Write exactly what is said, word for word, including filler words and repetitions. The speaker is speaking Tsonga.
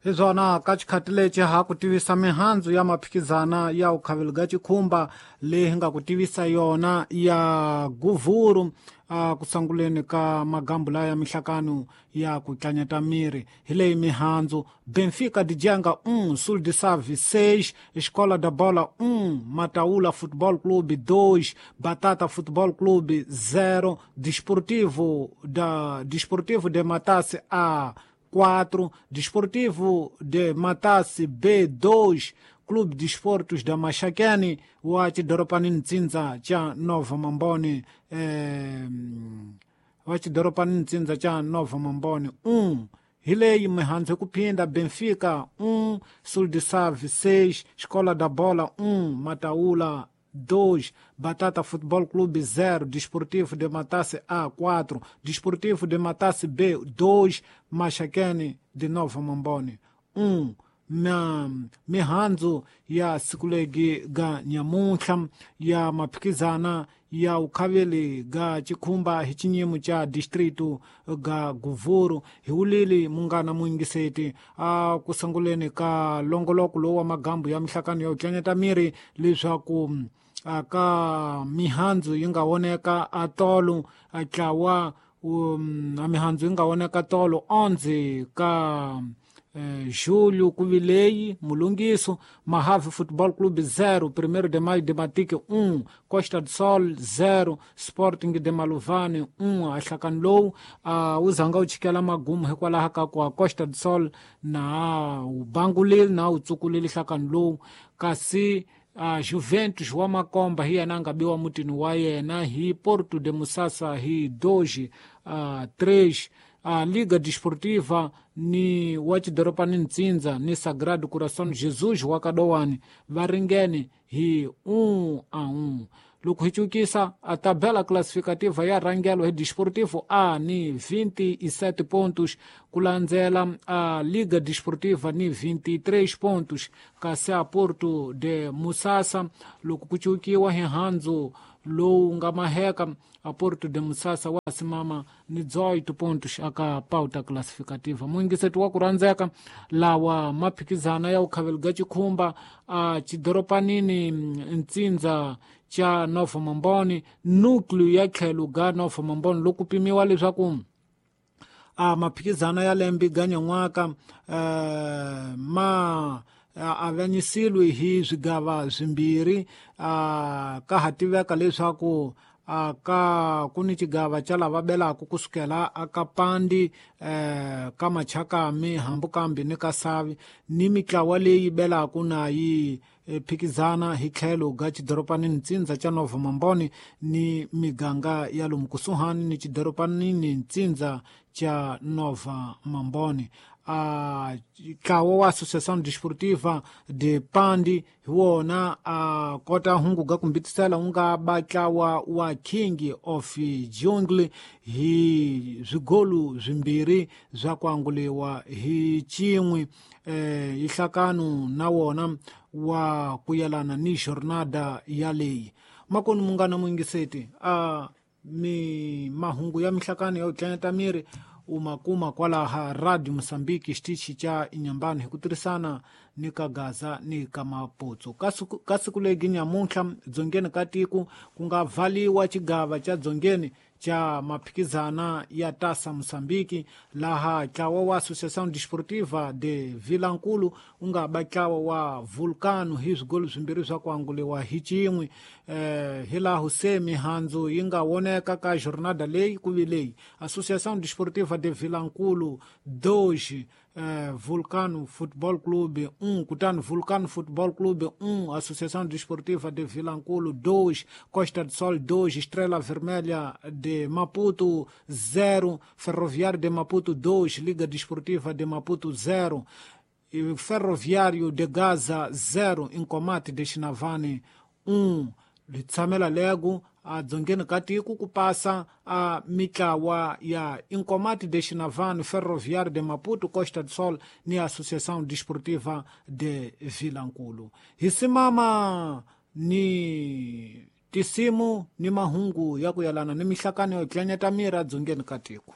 Hi swona ka xikhati lexi ha ku tivisa mihandzu ya maphikizana ya ukhavelo ga xikhumba leyi hi nga ku tivisa yona ya guvuru a ku sanguleni ka magambu laya ya mihlakano ya ku tlanyata miri. Hi leyi mihandzu: Benfica de Janga um, Sul de Save seis, Escola da Bola um, Mataula Futebol Clube dois, Batata Futebol Clube zero, Desportivo da Desportivo de Matasse A quatro, Desportivo de Matasse B dois, Clube de Esportes da Maxaquene wa xidoropanini ntsindza xa Nova Mamboni eh, wa xidoropanini ntsindza xa Nova Mamboni um. Hi leyi mihandzu hi ku phinda: Benfica um, Sul de Save seis, Escola da Bola um, Mataula dois, Batata Futebol Clube zero, Desportivo de Matasse A quatro, Desportivo de Matasse B dois, Maxaquene de Nova Mamboni um. Mihandzu ya sikulegi ga nyamuntlha ya maphikizana ya ukhaveli ga xikhumba hi xinyimo xa distrito ga guvuru. Hi wulili munghana muyingiseti a ku sunguleni ka longoloko lowu wa magambu ya mihlakano ya ku tlanyata miri leswaku ka mihandzu yi nga voneka a tolo a tlawa um, a mihandzu yi nga voneka tolo onze ka eh, julho ku vileyi mulungiso: Mahave Futebol Clube zero, Primeiro de Maio de Matique um, Costa do Sol zero, Sporting de Maluvane um. A nhlakano lowu uh, wu zanga wu chikela magumu hikwalaho ka ku a Costa do Sol na wu bangulile na wu tsukulile nhlakano lowu, kasi uh, Juventus wa Makomba hi yena a nga biwa mutini wa yena hi Porto de Musasa hi dois uh, três. A Liga Desportiva ni wa xidoropanini ntsindza ni Sagrado Coração Jesus wa Kadowani va ringene hi um a um. Loko hi cukisa a tabela classificativa ya rhangelo hi Desportivo A ni vinte e sete pontos, ku landzela a Liga Desportiva ni vinte e três pontos, kasi a Porto de Musasa loko ku cukiwa hi handzu lowu nga maheka a Porto de Musasa wa simama ni dezoito pontos aka pauta classificativa. Muyingiseti wa ku rhandzeka, lawa maphikizana ya ukhavelo ga xikhumba a xidoropanini ntsindza xa Nova Mamboni, núcleo ya tlhelo ga Nova Mamboni, loko pimiwa leswaku a maphikizana ya lembe ga nyan'waka eh, ma avanyisiwe hi swigava swimbirhi. A ka ha tiveka leswaku a ka ku ni xigava xa lava belaka kusukela aka Pandi eh, ka Machakami hambukambi ni ka Savi, ni mitlawa leyi belaka na yi phikizana hi tlhelo ga xidoropanini ntsindza xa Nova Mamboni ni miganga ya lomu kusuhani ni xidoropanini ntsindza xa Nova Mamboni. A ntlawa wa Associação Desportiva de Pandi hi wona a kota hungu ga kumbitisela wu nga ba ntlawa wa King of Jungle hi swigolu swimbirhi swa ku anguliwa hi xin'we. Eh, nhlakano na wona wa ku yelana ni jornada ya leyi. Makoni munghana muyingiseti, a mi mahungu ya mihlakano ya ku tlanyata miri u ma kuma kwalaha Radio Mosambiki xitichi xa Inyambani hi ku tirhisana ni ka Gaza ni ka Maputsu. Ka siku legi nyamuntlha dzongeni ka tiko ku nga vhaliwa xigava xa dzongeni xa maphikizana ya Taça Moçambique, laha ntlawa wa Associação Desportiva de Vilankulu wu nga ba ntlawa wa Vulcano hi swigolo swimbirhi swa ku anguliwa hi xin'we. Eh, hi laha se mihandzu yi nga voneka ka jornada leyi ku vi leyi: Associação Desportiva de Vilankulu dois, eh, Vulcano Futebol Clube um, kutani Vulcano Futebol Clube um, Associação Desportiva de Vilankulu dois, Costa do Sol dois, Estrela Vermelha de Maputo zero, Ferroviário de Maputo dois, Liga Desportiva de Maputo zero, Ferroviário de Gaza zero, Inkomati de Xinavane um. Litshamela lego a dzongeni ka tiko ku pasa a mitlawa ya Inkomati de Xinavane, Ferroviário de Maputo, Costa do Sol ni Associação Desportiva de Vilankulu. Hi simama ni tisimu ni mahungu ya ku yelana ni mihlakano yo tlanyata miri edzongeni ka tiko.